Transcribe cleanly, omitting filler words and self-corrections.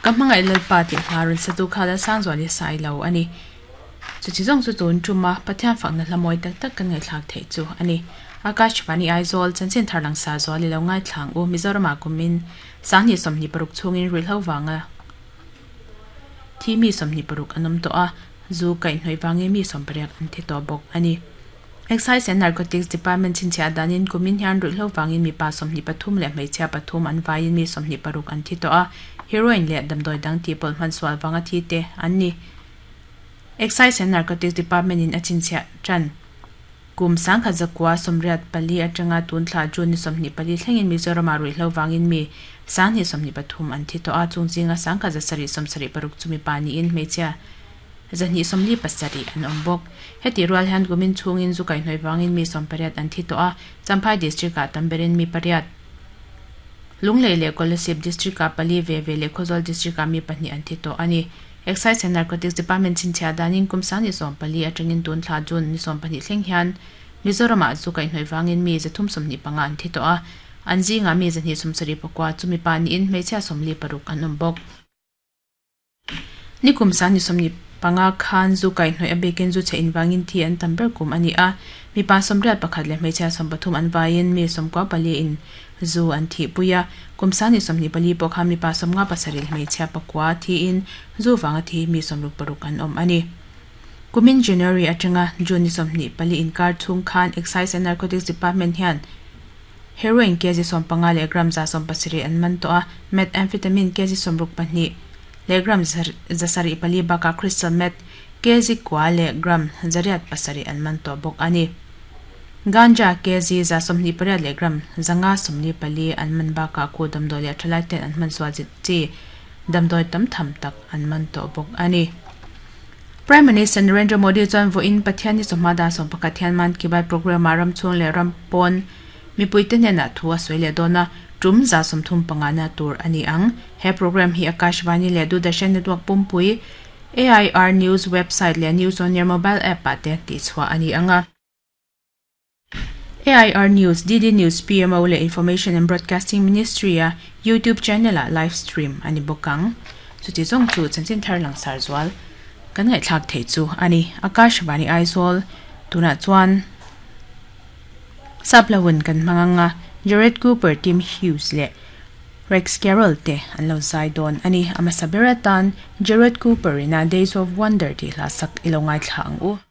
Ka hmangaih Lalpa tih hla rawn satu kha Lalsangzuali Sailo a ni. Chuti zawng chu tun tuma Pathian fakna hla mawi tak tak kan ngaihthlak theih chu a ni. Akashvani Aizawl, Chanchin thar langsa zual i lo ngaithlang u Mizoramah kumin Sanghnih 26 chhungin ruihhlo vanga thi mi 26 an awm tawh a, zu kaihhnawih vangin mi 18 an thi tawh bawk a ni. Excise and Narcotics Department chhinchhiah danin kumin hian ruihhlo vangin mipa 23 leh hmeichhia pathum an vaiin mi 26 an thi tawh a, heroin leh damdawi dang tihpawlh hman sual vanga thi te an ni. Excise and Narcotics Department in a chhinchhiah tan. Kum 1984 atanga tun thla June ni 24 thlengin Mizoramah ruihhlo vangin mi 2023 an thi tawh a, chung zinga 1776 chu mipa niin hmeichhia 247 an awm bawk. Hetih rual hian kumin chhungin zu kaihhnawih vangin mi 18 an thi tawh a, Champhai District-ah tam berin mi pariat, Lunglei leh Kolasib District-ah pali ve ve leh Khawzawl District-ah mi pahnih an thi tawh a ni. Excise and Narcotics Department chhinchhiah danin kum 24 atangin tun thla June ni 12 thleng hian Mizoramah zu kaihhnawih vangin mi 325 an thi tawh a, an zingah mi 274 chu mipa niin hmeichhia 46 an awm bawk. Ni kum 25 khan zu kaihhnawih a bikin zu chhe invangin thi an tam ber kum a ni a, mipa 81 leh hmeichhia 13 an vaiin mi 94 in Zu an thihpui a, kum 24 pawh khan mipa 57 hmeichhia pakua thiin zu vanga thi mi 66 an awm a ni. Kumin January atanga June ni 24 inkar chhung khan Excise and Narcotics Department hian Heroin kg 15 leh gram 170 an man tawh a, Methamphetamine kg 62 leh gram 74 bakah Crystal Meth kg kua leh gram 807 an man tawh bawk a ni. Ganja kg 128 leh gram 544 an man bakah khu damdawi leh thalai ten an hman sual chi damdawi tam tham tak an man tawh bawk a ni. Prime Minister Narendra Modi chuan vawiin Pathian ni chawhma dan 11 hian Mann Ki Baat programme ah ram chhung leh ram pawn mipuite hnenah thu a sawi leh dawn a, tum 35 na tur a ni ang. He programme hi Akashvani leh Doordarshan Network pumpui AIR News website leh News on Air mobile app ah te tihchhuah a ni ang a. AIR News, DD News, PMO leh Information and Broadcasting Ministry a YouTube channel ah live stream a ni bawk ang. Chuti zawng chu chanchin thar langsar zual kan ngaihthlak theih chu a ni. Akashvani Aizawl tunah chuan Saplawin kan hmang ang a, Jared Cooper, Tim Hughes leh Rex Carroll te an lo zai dawn a ni. A hmasa ber atan Jared Cooper ina Days of Wonder tih hla sak i lo ngaithla ang u.